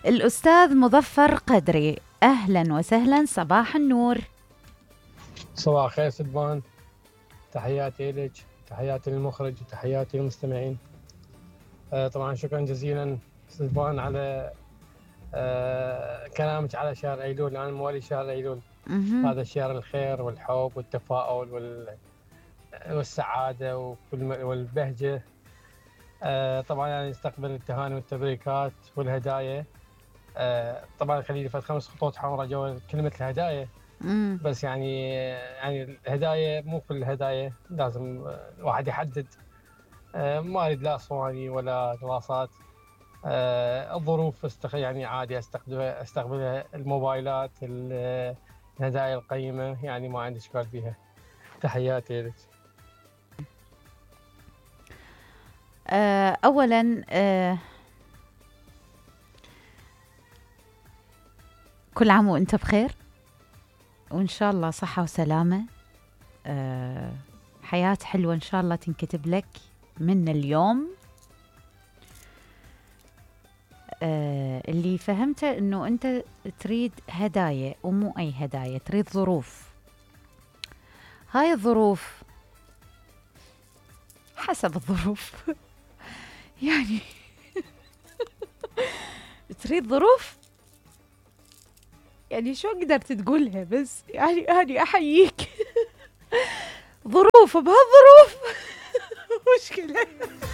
الأستاذ مظفر قدري. أهلا وسهلا، صباح النور. صباح الخير سلبان، تحياتي لك، تحياتي للمخرج وتحياتي للمستمعين. طبعا شكرا جزيلا سلبان على كلامك على شهر أيلول. أنا موالي شهر أيلول. هذا شهر الخير والحب والتفاؤل والسعادة والبهجة. طبعا يعني استقبل التهاني والتبريكات والهدايا. طبعا خليلي فد 5 خطوط حمراء جوا كلمة الهدايا. بس يعني الهدايا مو كل الهدايا لازم الواحد يحدد. ما اريد لا صواني ولا دراسات. الظروف يعني عادي استقبلها الموبايلات، الهدايا القيمة، يعني ما عندي اشكال بيها. تحياتي لك. اولا كل عام وانت بخير، وان شاء الله صحة وسلامة. حياة حلوة ان شاء الله تنكتب لك من اليوم. اللي فهمته انه انت تريد هدايا ومو اي هدايا، تريد ظروف. هاي الظروف حسب الظروف يعني تريد ظروف، يعني شو قدرت تقولها؟ بس يعني أنا أحييك ظروف بهالظروف مشكلة.